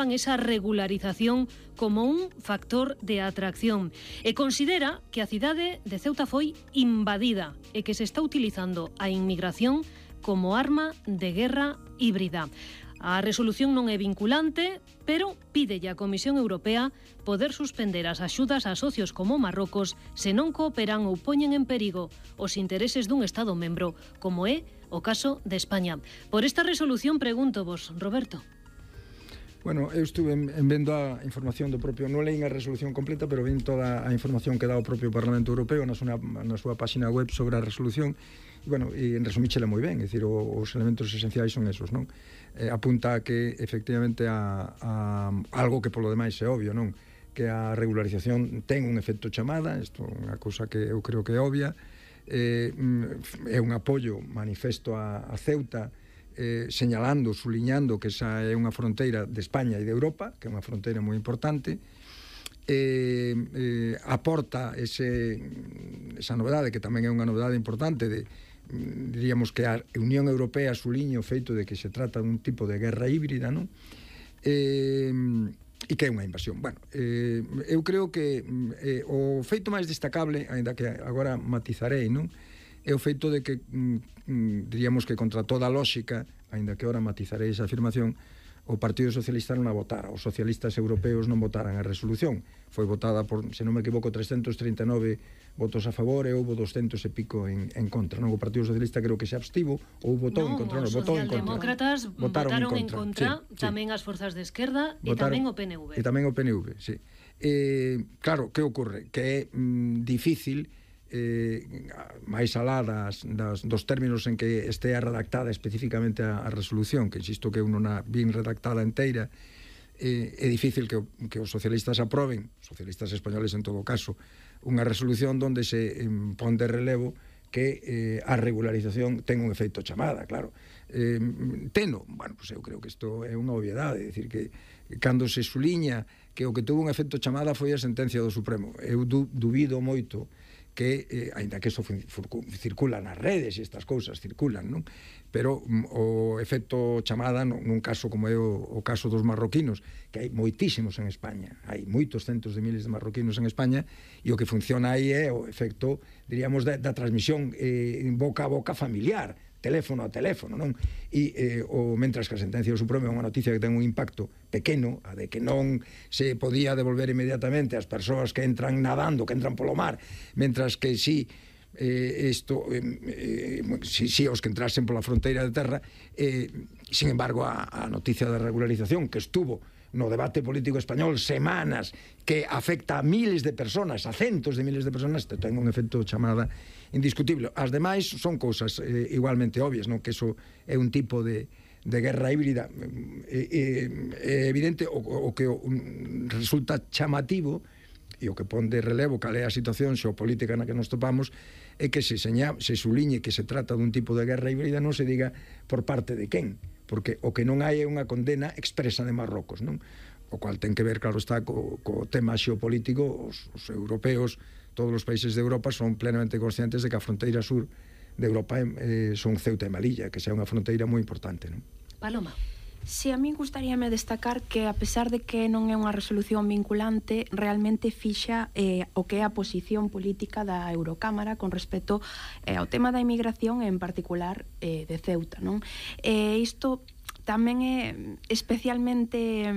esa regularización como un factor de atracción e considera que a cidade de Ceuta foi invadida e que se está utilizando a inmigración como arma de guerra híbrida. A resolución non é vinculante, pero pídelle á Comisión Europea poder suspender as axudas a socios como Marrocos se non cooperan ou poñen en perigo os intereses dun Estado membro, como é o caso de España. Por esta resolución pregunto vos, Roberto. Bueno, eu estuve vendo a información do propio, non leín a resolución completa, pero ven toda a información que dá o propio Parlamento Europeo na súa página web sobre a resolución. E, bueno, en resumíchela moi ben, é dicir, os elementos esenciais son esos, non? Apunta a que, efectivamente, a algo que polo demais é obvio, non? Que a regularización ten un efecto chamada, isto é unha cousa que eu creo que é obvia, é un apoio manifesto a Ceuta, señalando, suliñando que esa é unha fronteira de España e de Europa, que é unha fronteira moi importante, aporta esa novedade, que tamén é unha novedade importante, diríamos que a Unión Europea suliña o feito de que se trata dun tipo de guerra híbrida, non? E que é unha invasión. Bueno, eu creo que o feito máis destacable, aínda que agora matizarei, non? É o feito de que, diríamos que contra toda a lóxica, aínda que ora matizarei esa afirmación, o Partido Socialista non a votara, os socialistas europeos non votaran a resolución. Foi votada por, se non me equivoco, 339 votos a favor e houve 200 e pico en contra. Non, o Partido Socialista creo que se abstivo ou votou en contra. Non, os socialdemócratas votaron en contra, tamén as forzas de esquerda e tamén o PNV. E tamén o PNV, sí. Claro, que ocorre? Que é difícil, máis alá dos términos en que estea redactada especificamente a resolución, que insisto que non a bien redactada inteira, é difícil que os socialistas aproben, socialistas españoles en todo caso, unha resolución onde se pon de relevo que a regularización ten un efeito chamada, claro. Teno, bueno, pues eu creo que isto é unha obviedade, é dicir que cando se suliña que o que tuvo un efeito chamada foi a sentencia do Supremo, eu dubido moito que, aínda que eso circula nas redes e estas cousas circulan, non? Pero o efecto chamada nun caso como é o caso dos marroquinos, que hai moitísimos en España, hai moitos centos de miles de marroquinos en España, e o que funciona aí é o efecto, diríamos, da transmisión boca a boca familiar, teléfono a teléfono, non? E mentras que a sentencia do Supremo é unha noticia que ten un impacto pequeno, a de que non se podía devolver inmediatamente as persoas que entran nadando, que entran polo mar, mentras que si os que entrasen pola fronteira de terra, sin embargo a noticia da regularización que estuvo no debate político español semanas, que afecta a miles de personas, a centos de miles de personas, ten un efecto chamada indiscutible. As demais son cousas igualmente obvias, non? Que eso é un tipo de guerra híbrida. É evidente o que resulta chamativo e o que pon de relevo cal é a situación xeopolítica na que nos topamos é que se suliñe que se trata dun tipo de guerra híbrida, non se diga por parte de quen, porque o que non hai é unha condena expresa de Marrocos, non? O cual ten que ver, claro está, co tema xeopolítico. Os europeos, todos os países de Europa son plenamente conscientes de que a fronteira sur de Europa son Ceuta e Melilla, que sea unha fronteira moi importante, non? Paloma. Si, a mí gustaríame destacar que, a pesar de que non é unha resolución vinculante, realmente fixa o que é a posición política da Eurocámara con respecto ao tema da inmigración, en particular de Ceuta, non? Isto tamén é especialmente,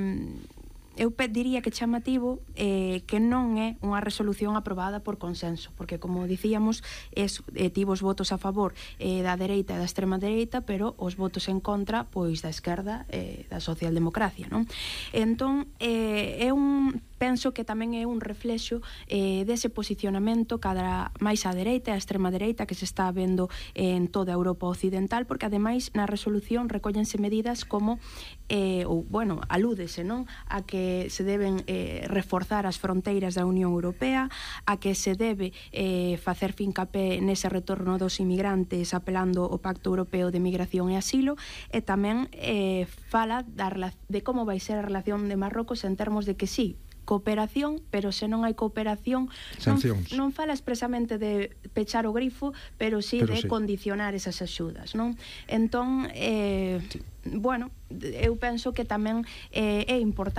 eu diría que chamativo, que non é unha resolución aprobada por consenso, porque, como dicíamos, tivo os votos a favor da dereita e da extrema dereita, pero os votos en contra, pois, da esquerda e da socialdemocracia, non? Entón, penso que tamén é un reflexo dese posicionamento cada máis á dereita e á extrema dereita que se está vendo en toda a Europa occidental, porque ademais na resolución recóllense medidas como alúdese, non, a que se deben reforzar as fronteiras da Unión Europea, a que se debe facer fincapé nese retorno dos inmigrantes apelando ao Pacto Europeo de Migración e Asilo, e tamén fala de como vai ser a relación de Marrocos en termos de que sí, cooperación, pero se non hai cooperación non fala expresamente de pechar o grifo, pero sí de condicionar esas axudas, non? Entón, bueno, eu penso que tamén é importante